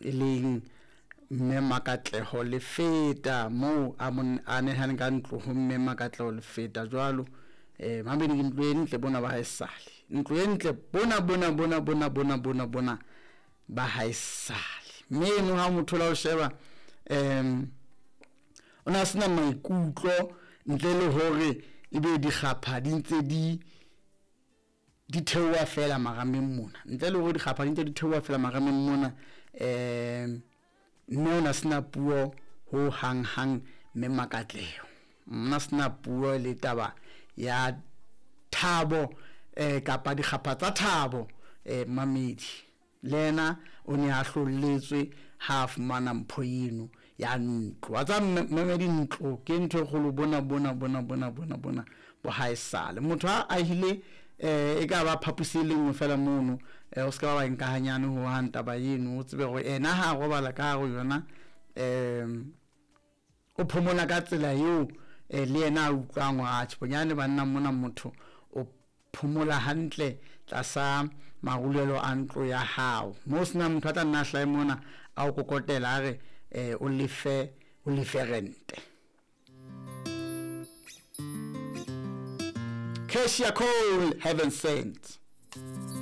E leng Mme Makatleho Lefeta moo a mo a nehane ka ntlo ho Mme Makatleho Lefeta jwalo. Mamedi ke ntlo e ntle bona ba haesale. Ntlo e ntle bona bona bona bona bona bona bona ba haesale. Mme eno ha motho la o sheba o na sena maikutlo ntle le hore ebe dikgapha di ntse di di theoha fela marameng mona, ntle le hore dikgapha di ntse di theoha fela marameng mona. Mme o na sena puo ho hang hang Mme Makatleho nna sena puo le taba ya thabo kapa dikgapha tsa thabo. Mamedi le yena o ne a hlolletswe ha a fumana mpho eno ya ntlo. Wa tseba mamedi, ntlo ke ntho e kgolo bona bona bona bona bona bona bo haesale. Motho a ahile e ka ba phaposi e le nngwe fela mono, o ska ba nka hanyane ho hang taba eno. O tsebe hore ena ha robala ka hare ho yona, o phomola ka tsela eo le yena a utlwang hore atjhe bonyane banna mona motho o phomola hantle tlasa marulelo a ntlo ya hao, mo sena motho a tla nna hlahe mona a o kokotela a re o lefe rente. Keshia Cole, Heaven Sent.